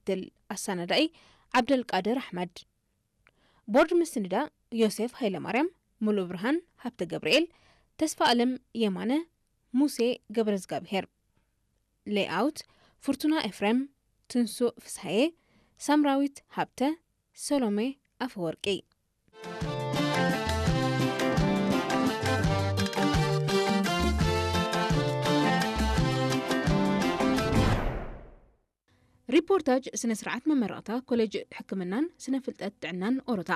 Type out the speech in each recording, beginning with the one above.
ክትትል ኣሰናዳኢ ዓብደልቃድር ኣሕመድ። ቦርድ ምስንዳ ዮሴፍ ሃይለማርያም፣ ሙሉእ ብርሃን ሃብተ ገብርኤል፣ ተስፋ ኣለም የማነ፣ ሙሴ ገብረዝጋብሄር። ሌይኣውት ፍርቱና ኤፍሬም፣ ትንሱእ ፍስሃየ፣ ሳምራዊት ሃብተ፣ ሰሎሜ ኣፈወርቂ። ሪፖርታጅ ስነ ስርዓት መመረቕታ ኮሌጅ ሕክምናን ስነ ፍልጠት ጥዕናን ኦሮታ።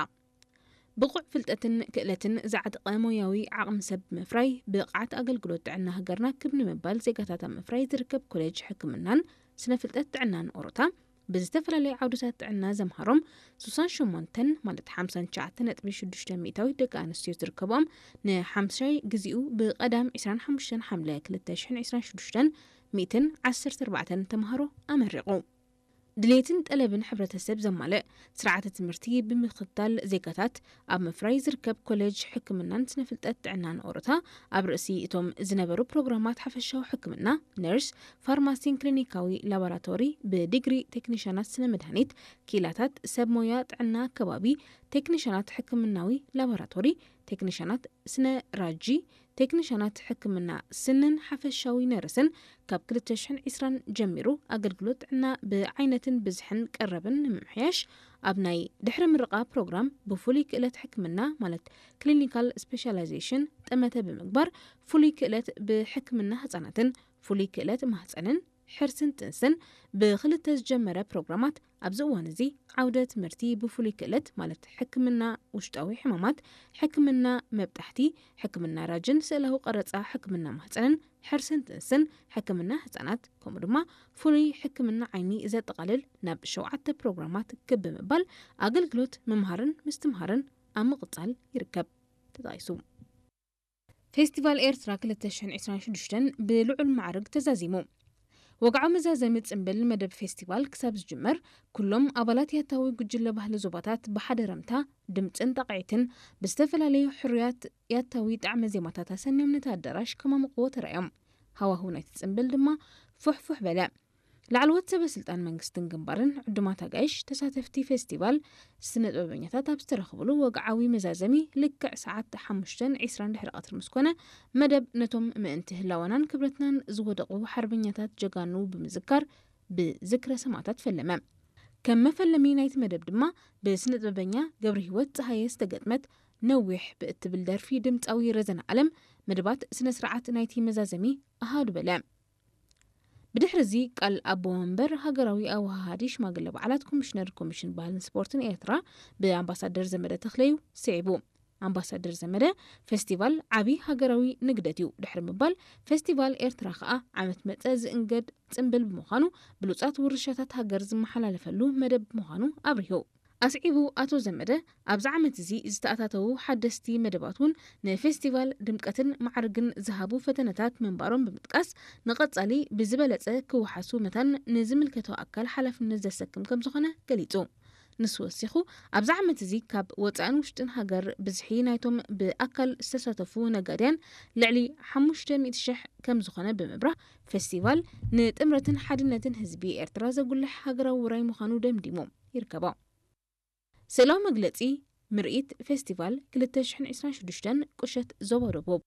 ብቑዕ ፍልጠትን ክእለትን ዝዓጠቐ ሞያዊ ዓቕሚ ሰብ ብምፍራይ ብቕዓት ኣገልግሎት ጥዕና ሃገርና ክብ ንምባል ዜጋታት ኣብ ምፍራይ ዝርከብ ኮሌጅ ሕክምናን ስነ ፍልጠት ጥዕናን ኦሮታ ብዝተፈላለዩ ዓውድታት ጥዕና ዘምሃሮም ሱሳን ሸሞንተን ማለት ሓምሳን ትሽዓተን ነጥቢ ሽዱሽተ ሚእታዊት ደቂ ኣንስትዮ ዝርከቦም ንሓምሻይ ግዚኡ ብቐዳም ዕስራን ሓሙሽተን ሓምለ ክልተ ሽሕን ዕስራን ሽዱሽተን ሚእትን ዓሰርተ ኣርባዕተን ተምሃሮ ኣመሪቑ። ድሌትን ጠለብን ሕብረተሰብ ዘማልእ ስርዓተ ትምህርቲ ብምኽታል ዜጋታት ኣብ ምፍራይ ዝርከብ ኮሌጅ ሕክምናን ስነ ፍልጠት ጥዕናን ኦሮታ ኣብ ርእሲ እቶም ዝነበሩ ፕሮግራማት ሓፈሻዊ ሕክምና፣ ነርስ፣ ፋርማሲን ክሊኒካዊ ላቦራቶሪ ብዲግሪ ቴክኒሻናት ስነ መድሃኒት፣ ክኢላታት ሰብ ሞያ ጥዕና ከባቢ፣ ቴክኒሻናት ሕክምናዊ ላቦራቶሪ፣ ቴክኒሻናት ስነ ራጂ፣ ቴክኒሻናት ሕክምና ስንን ሓፈሻዊ ነርስን ካብ ክልተ ሽሕን ዕስራን ጀሚሩ ኣገልግሎት ጥዕና ብዓይነትን ብዝሕን ቀረብን ንምምሕያሽ ኣብ ናይ ድሕሪ ምርቓ ፕሮግራም ብፍሉይ ክእለት ሕክምና ማለት ክሊኒካል ስፔሻላይዜሽን ጠመተ ብምግባር ፍሉይ ክእለት ብሕክምና ህጻናትን ፍሉይ ክእለት ማህጸንን ሕርስን ጥንስን ብክልተ ዝጀመረ ፕሮግራማት ኣብዚ እዋን እዚ ዓውደ ትምህርቲ ብፍሉይ ክእለት ማለት ሕክምና ውሽጣዊ ሕማማት፣ ሕክምና መብጣሕቲ፣ ሕክምና ራጅን ስእላዊ ቀረጻ፣ ሕክምና ማህጸንን ሕርስን ጥንስን፣ ሕክምና ህጻናት ከምኡ ድማ ፍሉይ ሕክምና ዓይኒ ዘጠቓልል ናብ ሸውዓተ ፕሮግራማት ክብ ብምባል ኣገልግሎት ምምሃርን ምስትምሃርን ኣብ ምቕጻል ይርከብ ተጠቒሱ። ፌስቲቫል ኤርትራ ክልተ ሽሕን ዕስራን ሽዱሽተን ብልዑል ማዕርግ ተዛዚሙ። ወግዓዊ መዛዘሚ ጽምብል መደብ ፌስቲቫል ክሳብ ዝጅመር፣ ኩሎም ኣባላት ያታዊ ጉጅለ ባህሊ ዞባታት ብሓደ ረምታ፣ ድምጽን ጣቕዒትን ብዝተፈላለዩ ሕሩያት ያታዊ ጣዕመ ዜማታት ኣሰንዮም ነቲ ኣዳራሽ ከማምቕዎ ተራእዮም። ሃዋህው ናይቲ ጽምብል ድማ ፉሕፉሕ በለ። ላዕለዎት ሰበ ስልጣን መንግስትን ግንባርን ዕዱማት ኣጋይሽ ተሳተፍቲ ፌስቲቫል ስነ ጥበበኛታት ኣብ ዝተረኽብሉ ወግዓዊ መዛዘሚ ልክዕ ሰዓት ሓሙሽተን ዕስራን ድሕሪ ቀትሪ ምስ ኮነ፣ መደብ ነቶም ምእንቲ ህላወናን ክብረትናን ዝወደቑ ሓርበኛታት ጀጋኑ ብምዝካር ብዝክረ ሰማእታት ፈለመ። ከም መፈለሚ ናይቲ መደብ ድማ ብስነ ጥበበኛ ገብረ ህይወት ጸሃየ ዝተገጥመት ነዊሕ ብእትብል ደርፊ ድምጻዊ ረዘነ ኣለም መደባት ስነ ስርዓት ናይቲ መዛዘሚ ኣሃዱ በለ። ብድሕሪ እዚ ቃል ኣቦ መንበር ሃገራዊ ኣወሃሃዲ ሽማግለ በዓላት ኮሚሽነር ኮሚሽን ባህልን ስፖርትን ኤርትራ ብኣምባሳደር ዘመደ ተኽለዩ ስዒቡ። ኣምባሳደር ዘመደ፣ ፌስቲቫል ዓቢ ሃገራዊ ንግደት እዩ ድሕሪ ምባል፣ ፌስቲቫል ኤርትራ ከኣ ዓመት መጸ ዝእንገድ ጽምብል ብምዃኑ ብሉጻት ውርሻታት ሃገር ዝመሓላለፈሉ መደብ ምዃኑ ኣብሪሁ። ኣስዒቡ ኣቶ ዘመደ፣ ኣብዚ ዓመት እዚ ዝተኣታተዉ ሓደስቲ መደባት እውን ንፌስቲቫል ድምቀትን ማዕርግን ዝሃቡ ፈተነታት ምንባሮም ብምጥቃስ፣ ንቐጻሊ ብዝበለጸ ክወሓሱ መታን ንዝምልከቶ ኣካል ሓላፍነት ዘሰክም ከም ዝኾነ ገሊጹ። ንሱ ወሲኹ፣ ኣብዚ ዓመት እዚ ካብ ወጻእን ውሽጥን ሃገር ብዝሒ ናይቶም ብኣካል ዝተሳተፉ ነጋድያን ልዕሊ ሓሙሽተ ሚእቲ ሽሕ ከም ዝኾነ ብምብራህ፣ ፌስቲቫል ንጥምረትን ሓድነትን ህዝቢ ኤርትራ ዘጉልሕ ሃገራዊ ውራይ ምዃኑ ደምዲሙ ይርከቦ። ስእላዊ መግለጺ ምርኢት ፌስቲቫል ክልተ ሽሕን ዕስራን ሽዱሽተን ቁሸት ዞባ ደቡብ።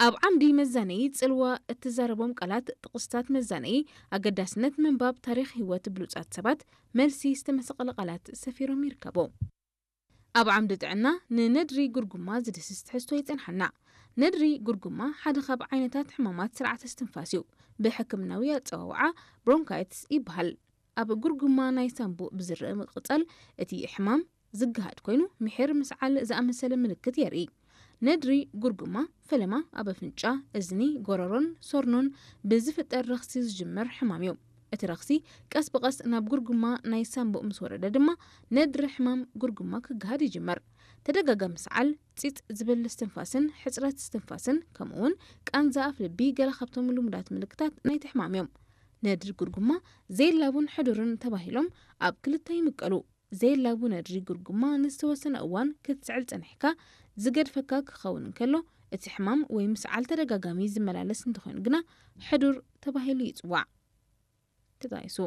ኣብ ዓምዲ መዛነዪ ጽልዋ እትዛረቦም ቃላት፣ ጥቕስታት መዛነዪ፣ ኣገዳስነት ምንባብ ታሪኽ ህይወት ብሉጻት ሰባት፣ መልሲ ዝተመሰቐለ ቃላት ሰፊሮም ይርከቡ። ኣብ ዓምዲ ጥዕና ንነድሪ ጉርጉማ ዝድህስስ ትሕዝቶ ይጸንሓና። ነድሪ ጉርጉማ ሓደ ካብ ዓይነታት ሕማማት ስርዓተ እስትንፋስ እዩ። ብሕክምናዊ ኣጸዋውዓ ብሮንካይትስ ይበሃል። ኣብ ጉርጉማ ናይ ሳንቡእ ብዝረአ ምቕጻል እቲ ሕማም ዝገሃድ ኮይኑ፣ ምሒር፣ ምስዓል ዝኣመሰለ ምልክት የርኢ። ነድሪ ጉርጉማ ፈለማ ኣብ ኣፍንጫ፣ እዝኒ፣ ጎረሮን ሶርኖን ብዝፍጠር ረኽሲ ዝጅምር ሕማም እዩ። እቲ ረኽሲ ቀስ ብቐስ ናብ ጉርጉማ ናይ ሳንቡእ ምስ ወረደ ድማ ነድሪ ሕማም ጉርጉማ ክገሃድ ይጅምር። ተደጋጋሚ ምስዓል፣ ጺጽ ዝብል እስትንፋስን ሕጽረት እስትንፋስን ከምኡውን ቃንዛ ኣፍ ልቢ ገለ ካብቶም ልሙዳት ምልክታት ናይቲ ሕማም እዮም። ነድሪ ጉርጉማ ዘየላቡን ሕዱርን ተባሂሎም ኣብ ክልተ ይምቀሉ። ዘየላቡ ነድሪ ጉርጉማ ንዝተወሰነ እዋን ክትስዕል ጸኒሕካ ዝገድፈካ ክኸውን እንከሎ፣ እቲ ሕማም ወይ ምስዓል ተደጋጋሚ ዝመላለስ እንተኾይኑ ግና ሕዱር ተባሂሉ ይጽዋዕ። ተጣይሱ።